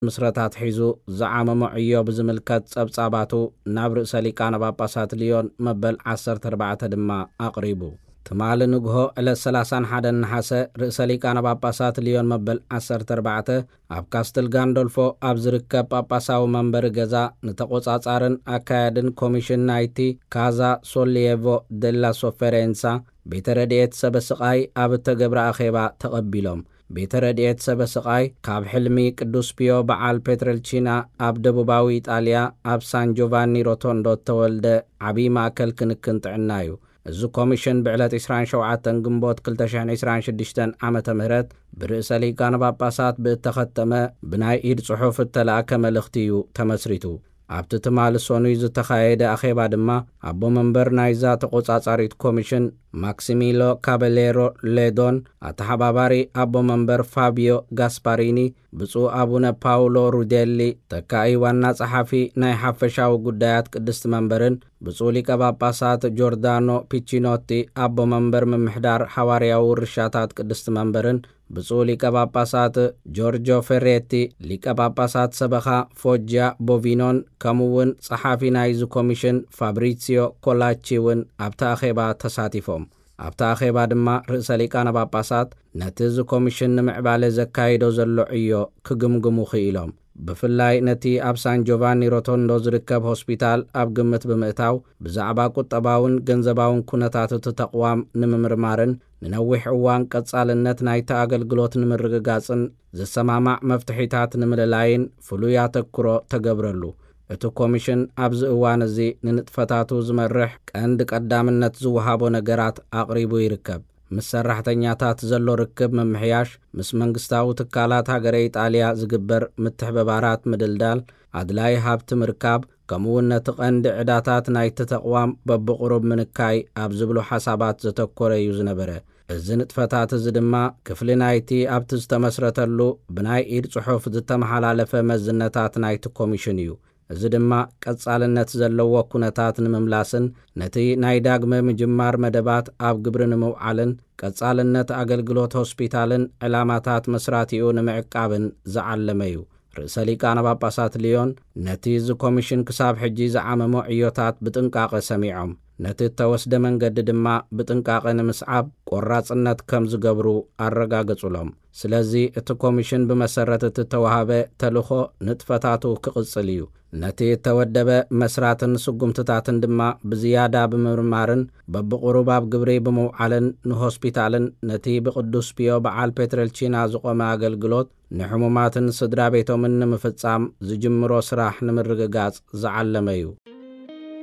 ምስረታ ኣትሒዙ ዝዓመሞ ዕዮ ብዝምልከት ጸብጻባቱ ናብ ርእሰ ሊቃነ ጳጳሳት ልዮን መበል ዓሰርተ ኣርባዕተ ድማ ኣቕሪቡ። ትማሊ ንግሆ ዕለት ሰላሳን ሓደን ነሓሰ ርእሰ ሊቃነ ጳጳሳት ልዮን መበል ዓሰርተ ኣርባዕተ ኣብ ካስትል ጋንዶልፎ ኣብ ዝርከብ ጳጳሳዊ መንበሪ ገዛ ንተቖጻጻርን ኣካያድን ኮሚሽን ናይቲ ካዛ ሶሊየቮ ደላ ሶፈሬንሳ ቤተ ረድኤት ሰበ ስቓይ ኣብ እተገብረ ኣኼባ ተቐቢሎም። ቤተ ረድኤት ሰበ ስቓይ ካብ ሕልሚ ቅዱስ ፒዮ በዓል ፔትረልቺና ኣብ ደቡባዊ ኢጣልያ ኣብ ሳን ጆቫኒ ሮቶንዶ እተወልደ ዓብዪ ማእከል ክንክን ጥዕና እዩ። እዚ ኮሚሽን ብዕለት ዕስራን ሸውዓተን ግንቦት ክልተ ሽሕን ዕስራን ሽዱሽተን ዓመተ ምህረት ብርእሰ ሊቃነ ጳጳሳት ብእተኸተመ ብናይ ኢድ ጽሑፍ እተላእከ መልእኽቲ እዩ ተመስሪቱ። ኣብቲ ትማሊ ሰኑይ ዝተኻየደ ኣኼባ ድማ ኣቦ መንበር ናይዛ ተቖጻጻሪት ኮሚሽን ማክሲሚሎ ካበሌሮ ሌዶን ኣተሓባባሪ ኣቦ መንበር ፋቢዮ ጋስፓሪኒ ብፁዕ ኣቡነ ፓውሎ ሩዴሊ ተካኢ ዋና ጸሓፊ ናይ ሓፈሻዊ ጉዳያት ቅድስቲ መንበርን ብፁዕ ሊቀ ጳጳሳት ጆርዳኖ ፒቺኖቲ ኣቦ መንበር ምምሕዳር ሓዋርያዊ ውርሻታት ቅድስቲ መንበርን ብፁዕ ሊቀ ጳጳሳት ጆርጆ ፌሬቲ ሊቀ ጳጳሳት ሰበኻ ፎጃ ቦቪኖን ከምኡ እውን ጸሓፊ ናይዚ ኮሚሽን ፋብሪሲዮ ኮላቺ እውን ኣብቲ ኣኼባ ተሳቲፎም። ኣብቲ ኣኼባ ድማ ርእሰ ሊቃነ ጳጳሳት ነቲ እዚ ኮሚሽን ንምዕባለ ዘካይዶ ዘሎ ዕዮ ክግምግሙ ክኢሎም። ብፍላይ ነቲ ኣብ ሳን ጆቫኒ ሮቶንዶ ዝርከብ ሆስፒታል ኣብ ግምት ብምእታው ብዛዕባ ቁጠባውን ገንዘባውን ኩነታት እቲ ተቕዋም ንምምርማርን ንነዊሕ እዋን ቀጻልነት ናይቲ ኣገልግሎት ንምርግጋጽን ዝሰማማዕ መፍትሒታት ንምልላይን ፍሉይ ኣተክሮ ተገብረሉ። እቲ ኮሚሽን ኣብዚ እዋን እዚ ንንጥፈታቱ ዝመርሕ ቀንዲ ቀዳምነት ዝወሃቦ ነገራት ኣቕሪቡ ይርከብ። ምስ ሰራሕተኛታት ዘሎ ርክብ ምምሕያሽ፣ ምስ መንግስታዊ ትካላት ሃገረ ኢጣልያ ዝግበር ምትሕብባራት ምድልዳል፣ ኣድላይ ሃብቲ ምርካብ፣ ከምኡውን ነቲ ቀንዲ ዕዳታት ናይቲ ተቕዋም በብቕሩብ ምንካይ ኣብ ዝብሉ ሓሳባት ዘተኮረ እዩ ዝነበረ። እዚ ንጥፈታት እዚ ድማ ክፍሊ ናይቲ ኣብቲ ዝተመስረተሉ ብናይ ኢድ ጽሑፍ ዝተመሓላለፈ መዝነታት ናይቲ ኮሚሽን እዩ። እዚ ድማ ቀጻልነት ዘለዎ ኩነታት ንምምላስን ነቲ ናይ ዳግመ ምጅማር መደባት ኣብ ግብሪ ንምውዓልን ቀጻልነት ኣገልግሎት ሆስፒታልን ዕላማታት መስራቲኡ ንምዕቃብን ዝዓለመ እዩ። ርእሰ ሊቃነ ጳጳሳት ልዮን ነቲ እዚ ኮሚሽን ክሳብ ሕጂ ዝዓመሞ ዕዮታት ብጥንቃቐ ሰሚዖም፣ ነቲ እተወስደ መንገዲ ድማ ብጥንቃቐ ንምስዓብ ቆራጽነት ከም ዝገብሩ ኣረጋገጹሎም። ስለዚ እቲ ኮሚሽን ብመሰረት እቲ እተዋህበ ተልእኾ ንጥፈታቱ ክቕጽል እዩ። ነቲ እተወደበ መስራትን ስጉምትታትን ድማ ብዝያዳ ብምምርማርን በብቕሩብ ኣብ ግብሪ ብምውዓልን ንሆስፒታልን ነቲ ብቅዱስ ፒዮ በዓል ፔትረልቺና ዝቖመ ኣገልግሎት ንሕሙማትን ስድራ ቤቶምን ንምፍጻም ዝጅምሮ ስራሕ ንምርግጋጽ ዝዓለመ እዩ።